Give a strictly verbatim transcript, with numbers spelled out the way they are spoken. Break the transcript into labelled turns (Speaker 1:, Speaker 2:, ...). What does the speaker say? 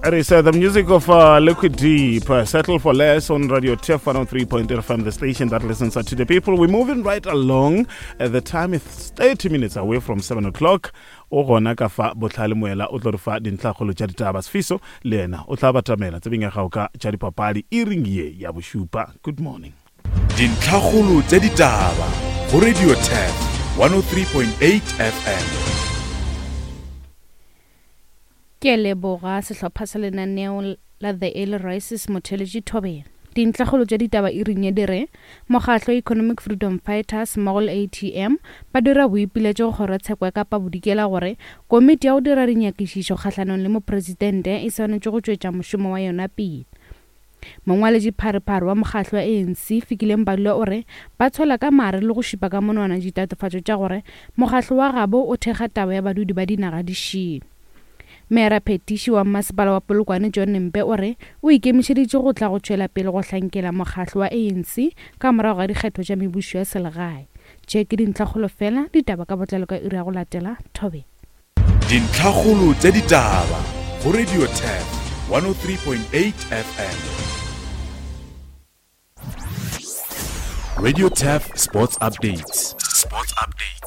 Speaker 1: It is uh, the music of uh, Liquid Deep, uh, Settle for Less on Radio T E F one oh three point eight F M, the station that listens to the people. We're moving right along. Uh, the time is thirty minutes away from seven o'clock. O gona ka fa Botlhale Moela o tlo re fa dintlhakgolo tša ditaba. Sefiso le yena o tla batamela tsebeng ya gago ka tša dipapadi iring ye ya bošupa. Good morning.
Speaker 2: Dintlhakgolo tša ditaba go Radio T E F one oh three point eight F M.
Speaker 3: Ke leboga sehlopha sa lenaneo la The Early Rises. Motheletši, thobela. Dintlhakgolo tša ditaba iring ye di re mokgahlo Economic Freedom Fighters mmogo le A T M ba dira boipiletšo go kgorotsheko ya Kapa Bodikela gore komiti ya go dira dinyakišišo kgahlanong le mopresidente e swanetše go tšwetša mošomo wa yona pele. Mongwaletši pharephare wa mokgahlo wa A N C, Fikile Mbalula, o re ba tshola ka mare le go šupa ka monwana ditatofatšo tša gore mokgahlo wa gabo o thekga taba ya badudi ba dinaga di šele. Meyara phetiši wa Mmasepala wa Polokwane, John Mpe, o re o ikemišeditše go tla go tšwela pele go hlankela mokgahlo wa A N C ka morago ga dikgetho tša mebušo ya selegae. Tše ke dintlhakgolo fela. Ditaba ka botlalo ka iri ya go latela. Thobe.
Speaker 2: Dintlhakgolo tša ditaba go Radio T E F one oh three point eight F M. Radio T E F Sports Updates. Sports Updates.